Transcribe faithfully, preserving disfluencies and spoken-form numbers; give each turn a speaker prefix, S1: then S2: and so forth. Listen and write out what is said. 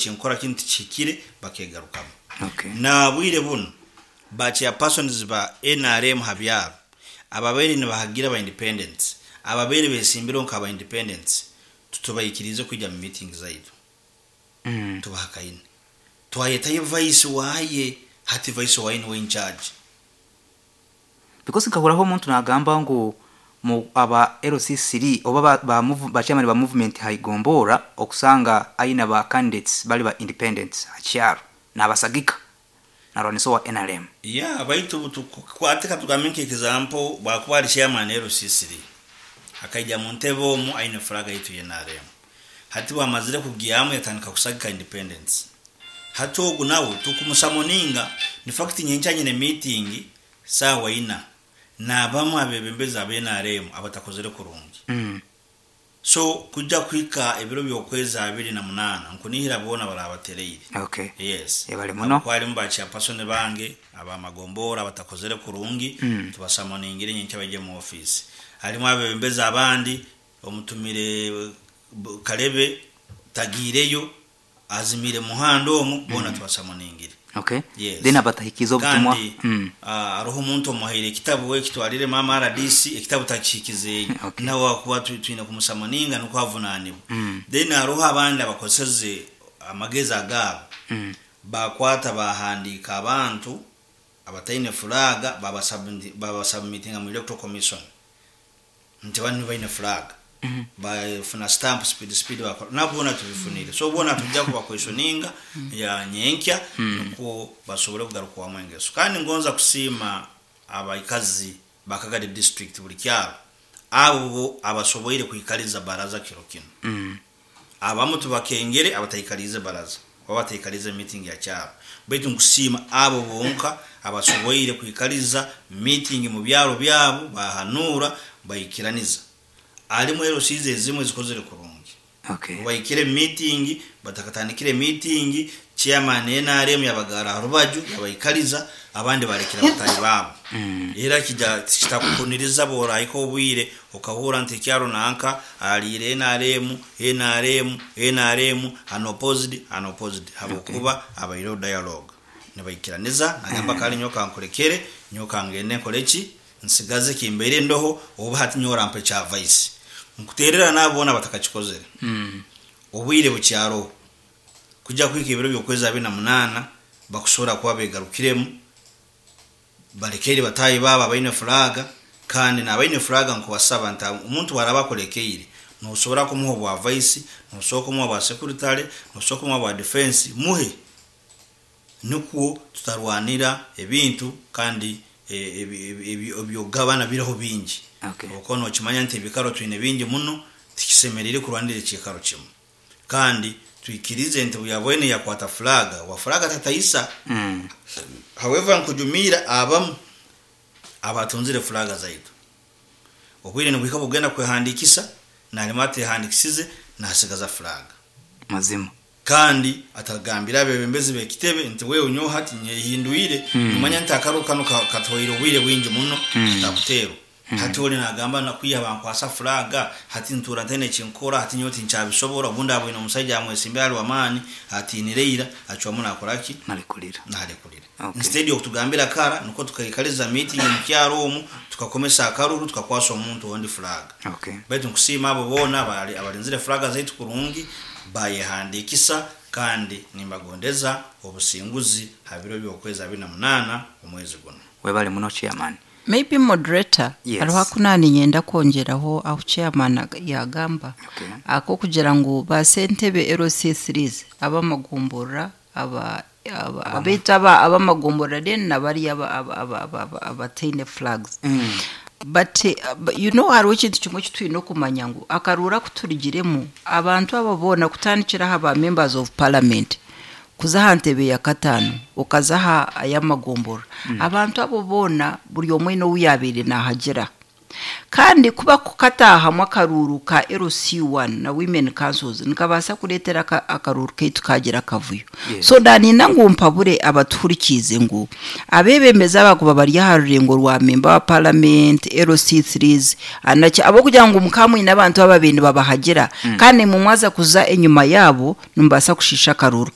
S1: Ekinkora kinu tikihikire, bakegarukamu.
S2: Okay.
S1: Na bwire buno ba chairpersons ba N R M ha byaro ababaire nibahagira ba independents, ababaire besimbire nka ba independents, tutubaikirize kwijja mu meeting zaitu.
S2: Mm.
S1: Tubahakaine, twayetayo vice waye, hati vice waye niwe in charge.
S2: Because nkahuraho omuntu nagamba ngu mu aba L C three oba ba, ba, move, ba chairman ba movement haigombora okusanga aina ba candidates bali ba independents hakyaro nabasagika narwaniso wa N R M.
S1: Ya, baitu tukwate katugambe nka example, bwakuba ali chairman L C three akaija mu ntebe omu aine flag yitu ya N R M, hati bwamazire kugyamu yatandika kusagika independence, hati ogu nawe tukumusummoninga. In fact, nyenkya nyine meeting saawa ina nabamu abebembezi aba N R M abatakozere kurungi.
S2: mm.
S1: So kujja kuhika ebiro by'okwezi abiri na munaana, nkunihira boona barabatereire.
S2: Okay.
S1: Yes.
S2: Ebale muno.
S1: Kwalimu ba chairperson bange abamagombora abatakozere kurungi.
S2: Mm.
S1: Tubasummoningire nyenkya bajye mu office. Halimu abebembezi abandi, omutumire b- Kalebe tagiireyo, azimire muhanda omu, boona tubasummoningire.
S2: Okay.
S1: Yes.
S2: Then abatahikiza obutumwa?
S1: Kandi
S2: mm.
S1: ah, hariho omuntu omuhaire ekitabu, we kitwarire mama R D C, ekitabu takihikizeeyo.
S2: Okay.
S1: Nawe akuba tu- twine kumusummoninga nukwo avunanibwa.
S2: Mm.
S1: Then hariho abandi abakozeseze amagezi agaabo,
S2: Mm.
S1: bakwata bahandika abantu abataine flag, babasubmitinga mu Electoral Commission nti bani baine flag.
S2: Mm.
S1: Bafuna stamp speed speed, bakora nabona tubifunire. So bona tujja kubaquestioninga ya nyenkya nukwo basobole kugarukwamu engeso. Kandi ngonza kusiima abaikazi bakagadi district, buli kyalo, abo bo abasoboire kwikaliza baraza kiro kino.
S2: Mm.
S1: Abamu tubakengere abataikalize baraza oba bataikalize meeting ya kyalo, baitu nkusiima abo bonka abasoboire kwikaliza meeting mu byalo byabo, bahanura, baikiraniza. Alimu L Cs ezimwe zikozere kurungi.
S2: Okay.
S1: Baikire meeting, batakatandikire meeting, chairman N R M yabagara rubaju, yabaikaliza, abandi barekera batayi babo.
S2: Mm.
S1: Era kija kitakukuniriza borayiko obwire okahura nti kyaro nanka alire N R M, N R M, N R M, unopposed, unopposed, habwokuba abaire dialogue nibaikiraniza, nagamba kali nyoka nkurekere, nyoka ngende nkoleki, nsigaze kimbeire ndoho, oba hati nyora mpe kya vice nkuterera nabona batakakikozere.
S2: Mm.
S1: Obwire bukyaro kujja kwika ebiro by'okwezi abiri na munaana bakusobola kuba begarukiremu, balekere batayi babo abaine flag. Kandi n'abaine flag nkubasaba nti omuntu waraba akolekeire, nosobora kumuha obwa vice, nosobora kumuha bwa secretary, nosobora kumuha bwa defense, muhe nukwo tutarwanira ebintu. Kandi eh, ebi- ebi- ebi- ebyogabana biriho bingi.
S2: Okay.
S1: Okuba nokimanya nti ebikaro twine bingi muno, tikisemerire kurwanira ekikaro kimu. Kandi twikirize nti buyabwene yakwata flag wa flag tatayisa.
S2: Mm.
S1: However, nkujumira abamu abatunzire flag zaitu, obwire nibwika bugenda kwehandikisa, nalima atehandikisize, nasigaza flag.
S2: Mazima.
S1: Kandi atagambira abebembezi bekitebe nti wewe nyowe hati nyehindwire.
S2: Mm.
S1: Umanya nti akaru kano ka- katwaire obwire bwingi muno.
S2: Mm.
S1: Atakuteerwa hati oli nagamba nakwiha bankwasa flag, hati ntura ntene kinkora, hati nyowe tinkyabisobora. Obundi abwine omusajja amwesimbe ali wamaani, atinireira, acwamu nakoraki?
S2: Nalekulira.
S1: Nalekulira.
S2: Okay.
S1: Instead yokutugambira kara nuko tukaikaliza meeting mu kyaro omu, tukakomesa akaruru, tukakwasa omuntu ondi flag.
S2: Okay.
S1: Baitu nkusiima abo boona abali- abalinzire flag zaitu kurungi, bayehandikisa, kandi nimbagondeza obusinguzi ha biro by'okwezi abiri na munaana omwezi guno.
S2: Webale muno, chairman.
S3: Maybe, moderator,
S2: Yes.
S3: hariho akunani nyenda kwongeraho aho chairman ag- yagamba
S2: Okay.
S3: ako kugira ngu basentebe L C threes abamagomborora aba aba- abaitu aba abamagomborora, then nabari aba- aba- aba- aba- aba- abataine flags.
S2: Mm.
S3: But uh, but you know hariho ekintu kimwe kitwine okumanya ngu akaruura kuturugiremu abantu abo boona, kutandikiraho aba members of parliament kuza aha ntebe ya kataano okaza aha ay'amagomborora, abantu abo boona buri omwe n'owu yabaire nahagira. Kandi kuba kukatahamu akaruuru ka L C one na women councils nikabaasa kureetera aka- akaruuru kaitu kagira akavuyo.
S2: Yes.
S3: So nanina ngu mpabure abatuhurikiize ngu abebembezi abakuba bari aha rurengo rwa member wa parliament, L C threes anaki, abokugira ngu mukamwine abantu ababaire nibabahagira, kandi mumwaza kuza enyuma yaabo nimubaasa kushiisha akaruuru.